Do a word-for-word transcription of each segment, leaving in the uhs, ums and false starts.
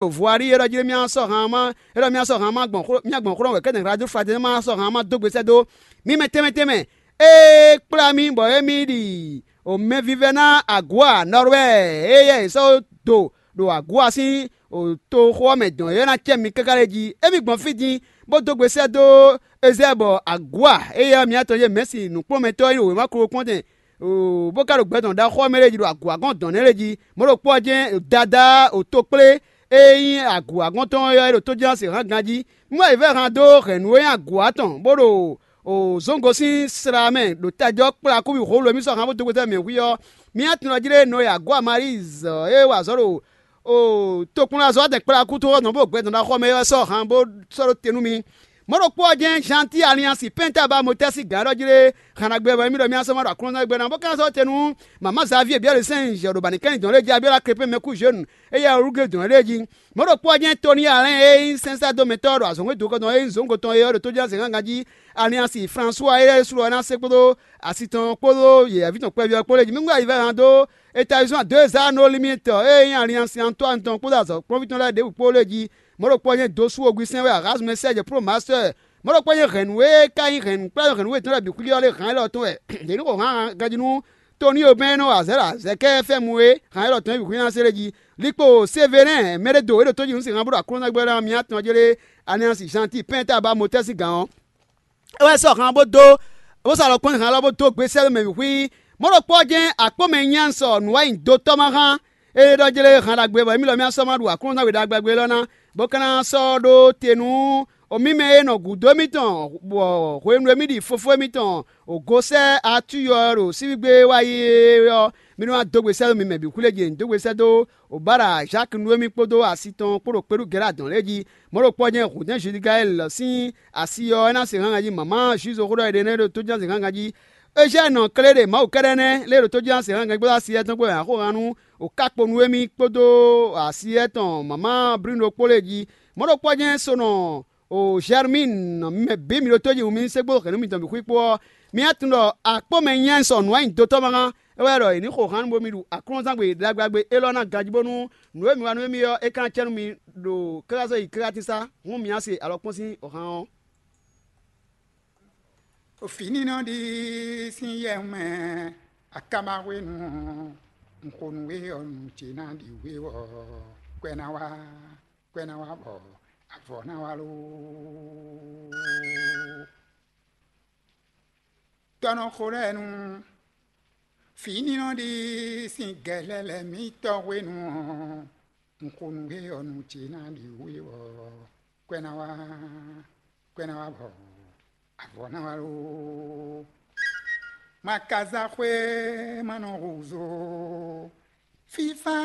ɖo Voirie é ɖɔ jí mía sɔ́ han ma é ɖɔ mía sɔ́ han ma gbɔn xló mía gbɔn xló wɛ kɛ́nɛ Radio Fraternelle ma sɔ́ han ma dó gbe sɛ́ dó mì mɛ tɛnmɛ tɛnmɛ. Ée kplá mì bɔ émí ɖi o mɛvívɛ́ná Agua Nɔrwɛ́ɛ éyɛ́ è sɔ́ dó ɖo Agua sín toxo ɔ́ mɛ dɔn é ná cɛ mi káká lɛ́ɛ jí. Émí gbɔn fí din bó dó gbe sɛ́ dó Ezɛ́ɛ bɔ Agua éyɛ́ mǐtɔn e Mɛ̌si nǔkplɔ́nmɛtɔ́ é nyí wěma kplɔ́nkpɔ́ntɛn bó ka ɖo gbɛ tɔn ɖaxó ɔ́ mɛ lɛ́ɛ jí ɖo agǔagɔ́n dɔn nɛ́ lɛ́ɛ jí. Mɔ̌ ɖokpó ɔ́ jɛ́n Dadá o tokplé e nyí agǔagɔ́n tɔn ɔ́ é ɖo tójínɔ́ se hǎn ganjí. Mú ayǐvɛ́han dó hɛ̌nnu e nyí agǔ atɔn bó ɖo zǒngo sín sla mɛ ɖo tajɔ kplá kúvi hǒlu e mì sɔ́ hǎn bó dó gbeta mɛ hwí ɔ́, mì nyi atɔn ɔ́ jlé nɔ e agǔ Amalízɔ e wa azɔ̌ ɖo tokpɔnlazɔ́ adɛn kplá kú tó ɔ́ nɔ bó gbɛ tɔn ɖaxó ɔ́ mɛ é wɛ sɔ́ hǎn bó sɔ́ ɖó te nú mi. Mɔ̌ ɖokpó ɔ́ jɛ́n Janti Aliansi Pɛ́ntába Motɛ́si gǎn ɖɔ jí lé, hannagbe wɛ mì ɖɔ mì asɔ́ ma ɖo aklúnɔ́gbɛ́ ná, bó ka sɔ́ te nú mamá Zavíe Biɛ́lesɛ́n jɛ ɖo bǎnikɛ́nyi dɔn lɛ́ɛ jí, Abiola Krepɛ́n mɛkú Zhenu, éyɛ́ Olúgé dɔn lɛ́ɛ jí. Mɔ̌ ɖokpó ɔ́ jɛ́n Toni Alɛ́n e nyí sɛ́nsá dó mɛtɔ́ ɖo azɔ̌ hwenu dó kɔn dɔn é nyí zǒngo tɔn é ɔ́ ɖo tójínɔ́ zěgángan jí, Aliansi Fransúa e sú ɔ́ ná se kpódó asi tɔn kpódó yɛ̌yɛ́ví tɔn kpɛví ɔ́ kpó lɛ́ɛ jí. Mì wá yi vɛ́ han dó Etazín dó e zá nɔ límítɔ e nyí Aliansi Antɔ́ani tɔn kpódó azɔ̌kplɔ́nví tɔn lɛ́ɛ ɖěbǔ kpó lɛ́ɛ jí. Mɔ̌ ɖokpó ɔ́ nyí Dosú Ogbisɛ́n wɛ Arazmɛsɛ́ jɛ Plomastɛ́ɛ. Mɔ̌ ɖokpó nyí hɛ̌nnu e ka nyí hɛ̌nnu kplá hɛ̌nnu e tɔn lɛ́ɛ bǐ xwíxwí ɔ́ lé han élɔ́ tɔn wɛ. Yě ní xo han ganjí nú Tonio bɛ́ e nɔ wa azɛ̌ ɖo azɛ̌kɛ́fɛ́mu e han élɔ́ tɔn nyí bǐ xwíná se lé jí. Likpo Sevelɛ́n mɛ ɖé do é ɖo tójí nǔ sin han bó ɖo aklúnɔgbɛ́ ɔ́ mì atɔn jlé Aliansi Janti Pɛ́ntába Motɛ́ sín gǎn ɔ́. É wɛ sɔ́ han bó dó bó sɔ́ alɔ kpɔ́n han lɔ bó dó gbe sɛ́ mɛ wǐ xwí. Mɔ̌ ɖokpó ɔ́ jɛ́n akpɔ́mɛ nyanya sɔ nǔwanyido tɔ́ ma hán. É ɖɔ jlé han ɖagbe bɔ émí lɔ mì sɔ́ ma ɖu aklúnɔzángbe ɖagbe élɔ́ ná, bó ka ná sɔ́ ɖó te nú mì mɛ e nɔ gǔdo émítɔn bɔ hwenu e mì ɖi fofó émítɔn gosɛ́ atúyɔ ɖo sívígbé wá yi é ɔ́, mì nɔ wá dó gbe sɛ́ dó mi mɛ bǐ xwlé jɛ dó gbe sɛ́ dó Obala Zaki nú émí kpódó asi tɔn kpó ɖo kpéɖú Gɛ̌la dɔn lɛ́ɛ jí. Mɔ̌ ɖokpó ɔ́ jɛ́n hǔndɛ́n Judigaɛli sín asi ɔ́ é ná se hángan jí mama Jwizo xó ɖɔ è ɖe nɛ́ ɖo tójínɔ́ se hángan jí. Ezyɛ́ɛ nɔ Klé ɖe Mawu kɛ́ɖɛ́ nɛ́ lé ɖo tójínɔ́ se hángan jí kpódó asi étɔn kpó wɛ a xó han nú o ká kpo nú émí kpódó asi étɔn mama Blínu ɖokpó lɛ́ɛ jí. Mɔ̌ ɖokpó ɔ́ jɛ́n so nɔ o Zɛrmín mɛ bǐ mi ɖo tó jí wǔ mi ní sɛ́ kpódó hɛ̌nnu mitɔn bǐ xwí kpó ɔ́, mi ná tunwun ɖɔ akpɔ́mɛ nyanya sɔ́ nǔwanyido tɔ́ ma hán. É wɛ ɖɔ è nǐ xo han nú bómí ɖu aklúnɔzángbe ɖagbe ɖagbe élɔ́ ná ganjí bónú nǔ e mi wa nú émí ɔ́, é ka ná cɛ nú mi ɖo káká sɔ́ yi káká tín sá, hǔn mi ná se alɔkpɔ́n sín han ɔ́. Fǐ ní nɔ ɖi sín yɛ mɛ akama hwenu ɔ́, un xo nǔ we ɔ́, nǔ ce ná ɖi we ɔ́, kwɛ ná wá, kwɛ ná wá bɔ avɔ ná wá loo. Tɔ́ nɔ xo lɛ́ɛ nu, fǐ ní nɔ ɖi sín gɛ̌lɛ́lɛ̌ mǐtɔn hwenu ɔ́, un xo nǔ we ɔ́, nǔ ce ná ɖi we ɔ́, kwɛ ná wá, kwɛ ná wá bɔ avɔ ná wá loo. Ma ka zá xwé ma nɔ húzú. Fífá,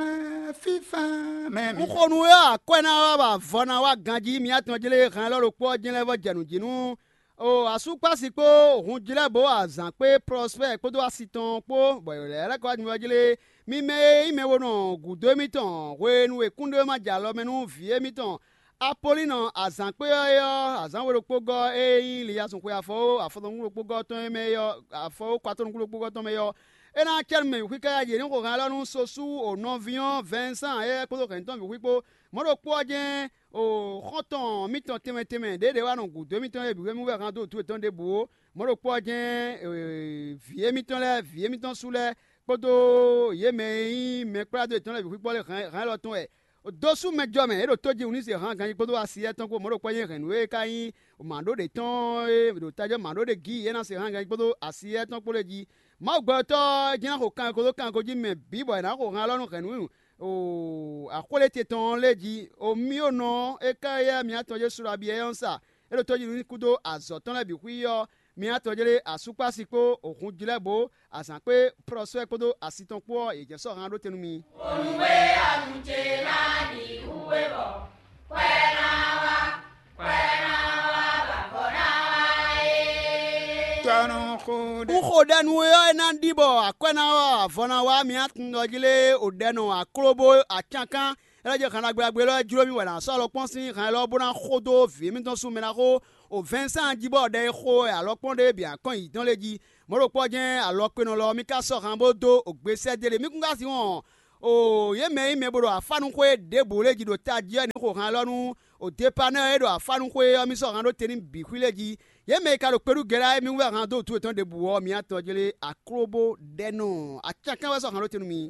fífá, mɛ mi. Un xo nú we ɔ́, akwɛ́ ná wá bɔ avɔ ná wá ganjí mǐtɔn jlé hɛn élɔ́ ɖokpó ɔ́ jɛ́n lɛ́ vɔ́ jɛ nǔ jí nú o asúkpási kpó hunjlɛ́bǒ azǎn kpé Plɔspɛ́ɛ kpódó asi tɔn kpó, bɔ yě lɛ́ lɛ́ kɔ wá jimɛ jí lé. Mi mɛ e nyí mɛ bo nɔ gǔdo émítɔn hwenu e kúnɖéwéma jɛ alɔ mɛ nú vǐ émítɔn Apolínɔ azǎn kpé ɔ́ é ɔ́, azǎn we ɖokpó gɔ́ e nyí Liyazun xwe afɔwó afɔtɔn nukún ɖokpó gɔ́ tɔn e mɛ é ɔ́, afɔwó kɔ atɔ́ nukún ɖokpó gɔ́ tɔn mɛ é ɔ́, é ná cɛ́ nú mɛ bǐ xwí káká jǐ é ní xo hɛn élɔ́ nú Sosú o nɔví ɔ́ Vɛnsan éyɛ́ kpódó hɛ̌nnu tɔn bǐ xwí kpó. Mɔ̌ ɖokpó ɔ́ jɛ́n o xɔ́ntɔn mítɔn tɛnmɛ tɛnmɛ ɖěɖě wá nɔ gǔdo émítɔn lɛ́ɛ bǐ hwenu wɛ hán dó wǔtu yětɔn ɖěbǔ ó. Mɔ̌ ɖokpó ɔ́ jɛ́n vǐ émítɔn lɛ́ɛ, vǐ émítɔn sú lɛ́ɛ kpódó yě mɛ e nyí mɛkpládó yětɔn lɛ́ɛ bǐ xwíkpɔ́ lɛ́ɛ hɛn hɛn élɔ́ tɔn wɛ. Dó sú mɛ jɔ mɛ é ɖo tó jí wǔ ní se hǎn ganjí kpódó asi étɔn kpó mɔ̌ ɖokpó nyí hɛ̌nnu e ka nyí mǎɖó ɖě tɔn e ɖo tajɔ́ mǎɖó ɖě gí é ná se hǎn ganjí kpódó asi étɔn kpó lɛ́ɛ jí. Mawu gbɛtɔ́ ɔ́ jɛ́n ná xo kanko dó kanko jí mɛ bǐ bɔ è nǎ xo han élɔ́ nú hɛ̌nnu axwlé ce tɔn ɔ́ lɛ́ɛ jí. Omíonɔ ɔ́, é ká yá mǐtɔn Jesu ɖo abiyɛ́ ɔ́ sa. É ɖo tó jí nú kúdó azɔ̌ tɔn lɛ́ɛ bǐ xwí ɔ́, mǐtɔn jlé asúkpási kpó hunjlɛ́bǒ azǎn kpé plɔ́sɔ́ɛ kpódó asi tɔn kpó ɔ́, yě jɛ sɔ́ han ɖó te nú mi. Onú e ɔ́ nú ce ná ɖi hú we bɔ kwɛ ná wá, kwɛ ná wá, bɔ avɔ ná wá é. Tɔ́ nɔ xo ɖe. Un xo ɖɛ nú we ɔ́, é ná ɖi bɔ akwɛ́ ná wá, avɔ ná wá, mǐ atundɔ jí lé o ɖɛ nɔ aklóbó acankán. É lɛ́ jɛ han ɖagbe ɖagbe élɔ́ jló mì wɛ è nǎ sɔ́ alɔkpɔ́n sín han élɔ́ bó ná xo dó vǐ émítɔn sú mɛ ná xó o Vɛnsan jí bɔ ɖɛ e xo wɛ alɔkpɔ́n ɖé bǐ akɔn yǐtɔn lé jí. Mɔ̌ ɖokpó ɔ́ jɛ́n alɔkpenɔ lɔ ɔ́, mì ka sɔ́ han bó dó o gbe sɛ́ dó e ɖe. Mì kún ka sin wɔn Oo, yě mɛ e nyí mɛ bo ɖo afánuxwé ɖěbǔ lɛ́ɛ jí ɖo tají ɔ́, ní xo han élɔ́ nú o depanɛ́ e ɖo afánuxwé ɔ́, mì sɔ́ han ɖó te n'i bǐ xwí lɛ́ɛ jí. Yě mɛ e ka ɖo kpé ɖu gɛ́ ɖa é, mì wú wɛ han dó wǔtu yětɔn ɖěbǔ ɔ́, mi atɔn jlé aklóbó ɖɛ́ nɔ. Acánkán wɛ sɔ́ han ɖó te nú mi.